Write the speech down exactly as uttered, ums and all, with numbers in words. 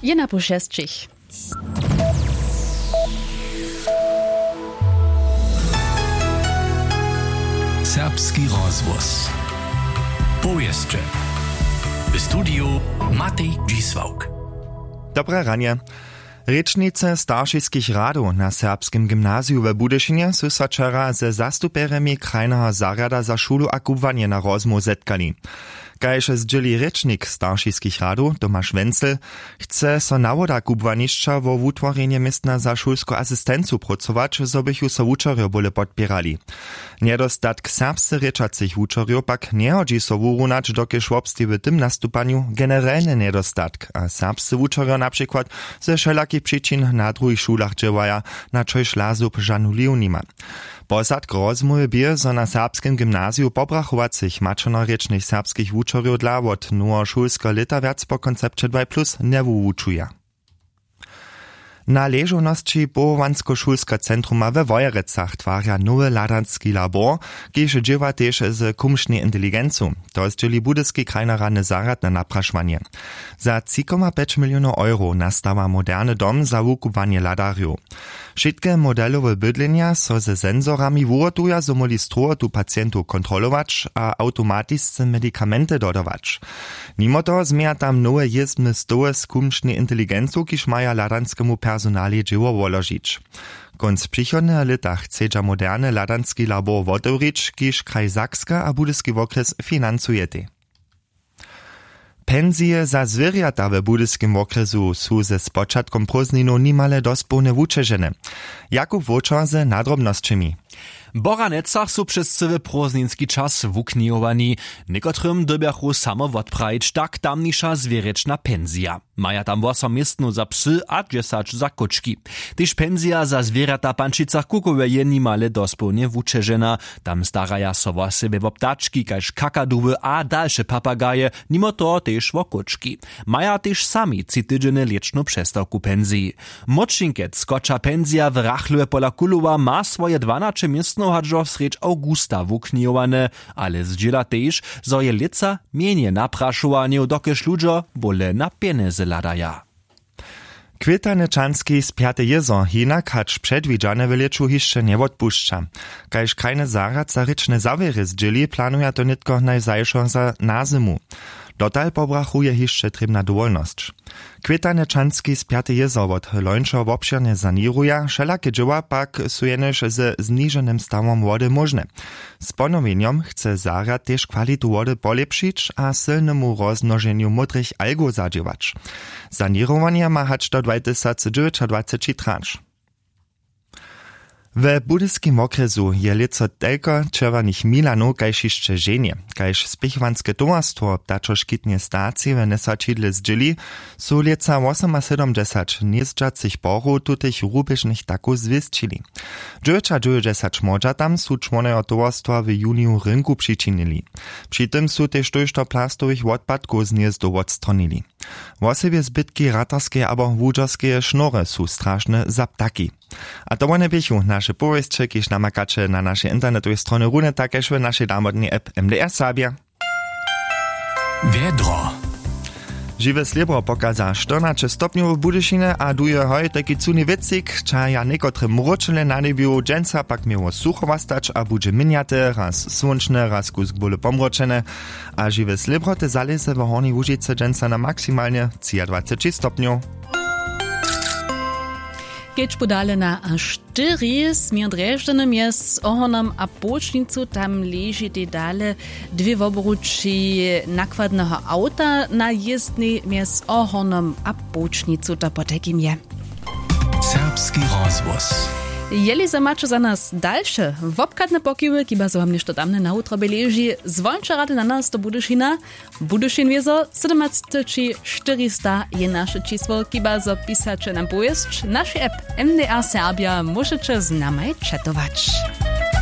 Je na pół šesćich. Serbski rozhłos. Powěsće. W studiju Matej Dźisławk. Dobre ranje. Rěčnicy staršiskich radow na serbskim gymnaziju w Budyšinje su so wčera ze zastupjerjemi krajneho zarjada za šulu a kubłanje na rozmołw zetkali. Kaž zdźěli rěčnik staršiskich radow Tomaš Wenzel, chce so nawoda kubłanišća wo wutworjenje městna za šulsku asistencu prócować, zo bychu so wučerjo bóle podpěrali. Njedostatk serbsce rěčacych wučerjow pak njehodźi so wurunać, dokelž wobsteji w tym nastupanju generelny njedostatk a serbscy wučerjo na přikład ze wšelakich přičin na druhich šulach dźěłaja, na čož lazup žanu liw nima. Posadk rozmołwy bě, zo na serbskim gymnaziju pobrachowacych maćernorěčnych serbskich wučerjow dla wot noweho šulskeho lěta wjac po koncepće dwaj plus njewuwučuja. Na ležownosći powołanskošulskeho centruma we Wojerecach twarja nowy hladanski labor, kiž dźěła tež z kumšnej inteligencu. To zdźěli budyski krajnoradny zarjad na naprašowanje. Za tři koma pjeć milionow euro nastawa moderny dom za wukubłanje hladarjow. Wšitke modelowe bydlenja so ze sensorami wuhotuja, zo móhli strowotu pacientow kontrolować a awtomatisce medikamenty dodawać. Nimo toho změja tam nowe jězbne stoły z kumšnej inteligencu, kiž maja hladanskemu personalej dźěło woložić. Kónc přichodneho lěta chcedźa moderny hladanski labor wotewrić, kiž kraj Sakska a budyski wokrjes financujetej. Pensije za zwěrjata w budyskim wokrjesu su ze spočatkom prózdninow nimale dospołnje wućežene. Jakub Wóčer z nadrobnosćemi. W Boranecach su přez cyły prózdninski čas wuknihowani. Někotrym dyrbjachu samo wotprajić tak tamniša zwěrječna pensija. Maja tam wosom městnow za psy a dźesać za kóčki. Tež pensija za zwěrjata w Pančicach Kukowje je nimale dospołnje wućežena. Tam staraja so wosebje wo ptački kaž kakaduwy a dalše papagaje, nimo toho tež wo kóčki. Maja tež sami tři tydźenje lěćnu přestawku w pensiji. Młódšinkec, kotřa pensija w Rachlowje pola Kulowa, ma swoje dwanaće městnow hač do srjedź awgusta wuknihowane, ale zdźěla tež, zo je lětsa mjenje naprašowanjow, dokelž ludźo bóle na pjenjezy hladaja. Kwětanečanski spjaty jězor hinak hač předwidźane w lěću hišće njewotpušća. Kaž krajny zarjad za rěčne zawěry zdźěli, planuja to nětko najzašo za na zymu. Dotal pobrachuje hišće trěbna dowolnosć. Kwětanečanski spjaty jězor wot lońšeho wobšěrnje saněruja, wšelake dźěła pak su jenož ze zniženym stawom wody móžne. Z ponowjenjom chce zarjad tež kwalitu wody polěpšić a sylnemu rozmnoženju módrych algow zadźěłać. Saněrowanje ma hač do dwatysacdźewjećadwaceći trać. We budyskim wokrjesu je lětso telko čerwjenych milanow kaž hišće ženje. Kaž spěchowanske towarstwo ptačoškitneje stacije w njesaćidle zdźěli, su lětsa wosomasydomdźesać hnězdźacych porow tutych rubježnych takow zwěsćili. Dźewjećadźewjećdźesać młodźa tam su čłonojo towarstwa w juniju rynku přičinili. Při tym su tež tójšto plastowych wotpadkow z hnězdow wotstronili. Wosebje zbytki ratarskeje abo łudźerskeje šnory su strašne za ptaki. A to wone běchu naše powěsće, kiž namakaće na našej internetowej stronje runje tak kaž w našej damodnej app M D R Serbia. Wjedro. Žiwe slěbro pokaza štyrnaće stopnjow w Budyšinje a duje hoj tajki cuni wětřik, čaja někotre mróčele na njebju. Dźensa pak měło sucho wostać a budźe měnjate, raz słónčne, raz kusk bóle pomróčene. A žiwe slěbro te zalěze w Hornjej Łužicy dźensa na maksimalnje třiadwaceći stopnjow. Kedźbu dale na a štyri směr Drježdźany mjez Ohornom a Połčnicu, tam ležitej dale dwě wobrući nakładneho awta na jězdnej mjez Ohornom a Połčnicu, to potajkim je. Serbski rozhłos. Jeli zo maće za nas dalše wobchadne pokiwy, kiba zo wam něšto tamne na wutrobje leži, zwonča rady na nas do Budyšina. Budyšin wězo sydomatysaćčěrista je naše čisło, kiba zo pisaće nam powěsć. Naši app M D R Serbia móžeće z namaj četować.